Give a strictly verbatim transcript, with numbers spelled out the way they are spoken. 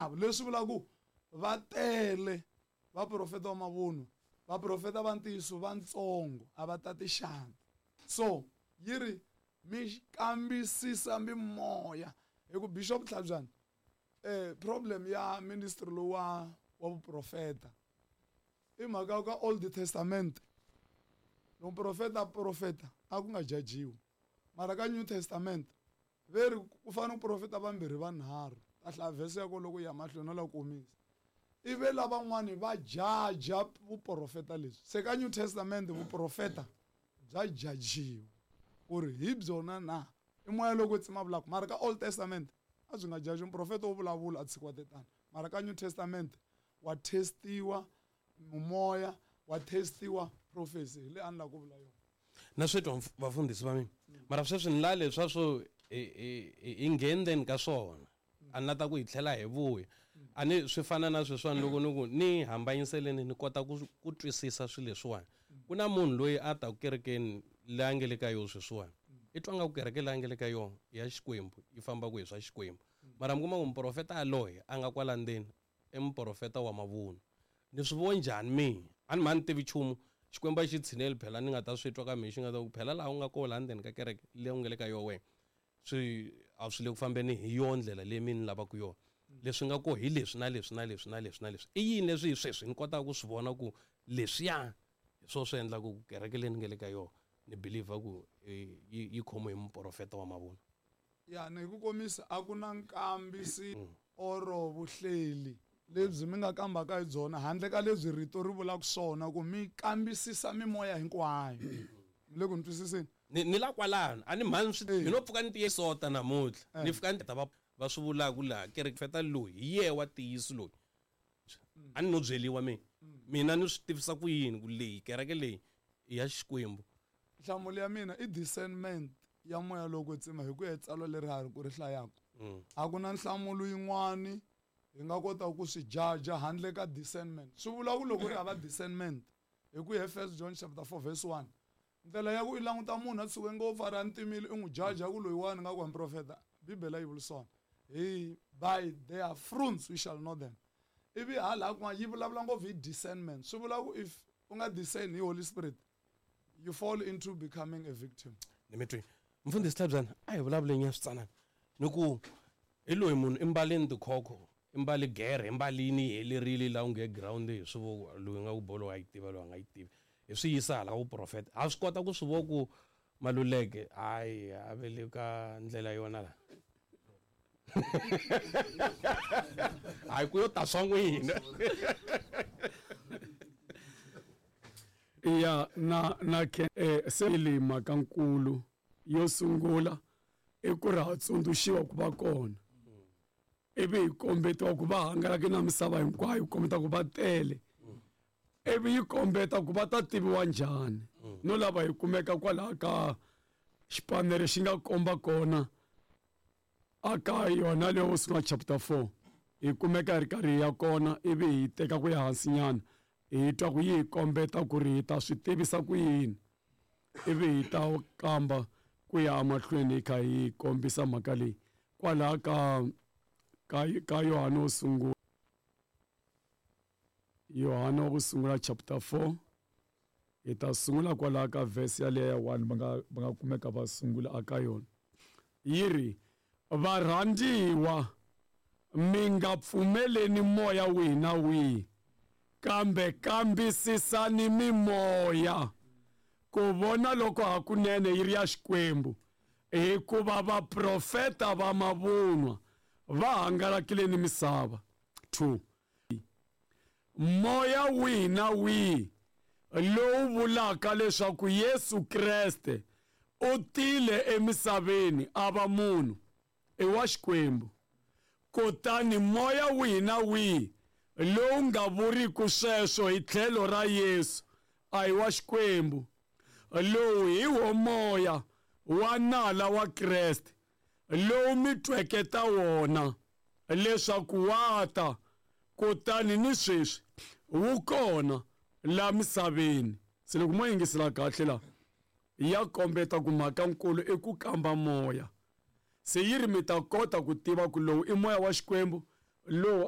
Leswi vulaka ku va tele vaprofeta va mavunwa, vaprofeta va ntiyiso vantsongo a va tati xandla. So yi ri mi kambisisa mimoya hi ku Bishop Tlhabyana eh problem ya ministry lowu wa wa vuprofeta i mhaka ka Old Testament loko profeta profeta a ku nga jajiwi, mara ka New Testament ve ri ku fanele ku profeta vambirhi vanharhu ta hlaya verse ya ko loko ya mahlweni no la komisa ive lavan'wani va jaja vuprofeta leswi. Se ka New Testament vuprofeta bya jajiwa ku ri hi byona na i moya loko tsima vulaka, mara ka Old Testament a byi nga jaji, muprofeta wo vulavula a tshikiwa tetana, mara ka New Testament wa testiwa mimoya, wa testiwa prophecy hi le a ni lava ku vula yona. Na swi twa vafundhisi va mina, mara sweswi ni la leswa swo hi hi ngheneni ka swona a ni la ta ku hi tlhela hi vuya a ni swi fana na sweswiwani loko ni ku ni hambanyiseleni ni kota ku ku twisisa swilo leswiwani. Ku na munhu loyi a taku kerekeni leyi a nge le ka yona sweswiwani, i twa nga ku kereke leyi a nge le ka yona ya Xikwembu yi famba ku hi swa Xikwembu, mara mi kuma ku muprofeta yaloye a nga kwala ndzeni i muprofeta wa mavunwa. Ni swi vo njhani mina? A ni mhani tivi nchumu, Xikwembu a xi tshineli phela ni nga ta swi twa ka mina xi nga ta ku phela laha u nga kona laha ndzeni ka kereke leyi u nga le ka yona wena swi a swi le ku fambeni hi yona ndlela leyi mina ni lavaka yona, leswi nga ko hi leswi na leswi na leswi na leswi na leswi. I yini leswi hi sweswi ni kotaka ku swi vona ku leswiya hi swona swi endlaka ku kereke leyi ni nga le ka yona ni believer ku yi yi khomiwe hi muprofeta wa mavunwa? Ya ni hi ku komisa a ku na nkambisi oro vuhleli lebyi mi nga kambaka hi byona handle ka lebyi rito ri vulaka swona ku mi kambisisa mimoya hinkwayo. Mi le ku ni twisiseni? Ni ni la kwalano a ni mhani swi ni no pfuka ni tiye sota namuntlha ni fika ni ta va va swi vulaka laha kereke feta loyi hi yehe wa ntiyiso loyi a ni no byeriwa mina mina ni swi tivisa ku yini ku leyi kereke leyi i ya Xikwembu. Nhlamulo ya mina i discernment ya moya lowo kwetsima hi ku ya tsalwa leri ha ri ku ri hlayaka. A ku na nhlamulo yin'wani hi nga kota ku swi jaja handle ka discernment. Swi vula ku loko ri hava discernment hi ku ya First John chapter four verse one, ndlela ya ku i languta munhu a tshuke ngopfu a ri a ntimile i n'wi jaja ku loyiwani nga ku wa muprofeta, Bibele yi vula swona hi by their fruits we shall know them. Ivi hala kun'wana yi vulavula ngopfu hi discernment. Swi vula ku if u nga discern hi Holy Spirit you fall into becoming a victim. Ni mi twi mfundhisi Tlhabyana a hi vulavuleni ya switsanana ni ku hi loyi munhu i mbalini tikhokho, i mbali gere, i mbalini yi helerile laha u nge ground hi swi vo loyi nga ku bolo a yi tiva loyi a nga yi tivi hi swi yisa hala ka vuprofeta ha swi kota ku swi vo ku Maluleke hayi a ve le ka ndlela yona la hayi ku yo ta swa n'wina. Ya na na ke eh, se le mhaka nkulu yo sungula i ku ri ha tsundzuxiwa ku va kona ivi hi kombetiwa ku va hangalake na misava hinkwayo kombeta ku va tele ivi yi kombeta ku va ta tiviwa njhani no lava hi kumeka kwalaha ka xipanere xi nga komba kona aka yona leyo sungula chapter four hi kumeka hi ri karhi hi ya kona ivi hi teka ku ya hansi nyana hi twa ku yi hi kombeta ku ri hi ta swi tivisa ku yini ivi hi ta kamba ku ya emahlweni hi kha hi kombisa mhaka leyi kwalaha ka ka ka Yohane wo sungula Yohane wa ku sungula chapter four hi ta sungula kwalaha ka verse yaleyo ya one va nga va nga kumeka va sungula aka yona yi ri varhandziwa mi nga pfumeleni moya wihi na wihi kambe kambisisani mimoya ku vona loko hakunene yi ri ya Xikwembu hikuva vaprofeta va mavunwa va hangalakile ni misava. Two moya wihi na wihi lowu vulaka leswaku Yesu Kreste u tile emisaveni a va munhu i wa Xikwembu, kutani moya wihi na wihi lowu nga vuriku sweswo hi tlhelo ra Yesu a hi wa Xikwembu. Lowu hi wo moya wa nala wa Kreste lowu mi tweke ta wona leswaku wa ta, kutani ni sweswi wu kona la misaveni. Se loko mo yingisela kahle la ya kombeta ku mhaka nkulu i ku kamba moya. Se yi ri mi ta kota ku tiva ku lowu i moya wa Xikwembu, Lowu a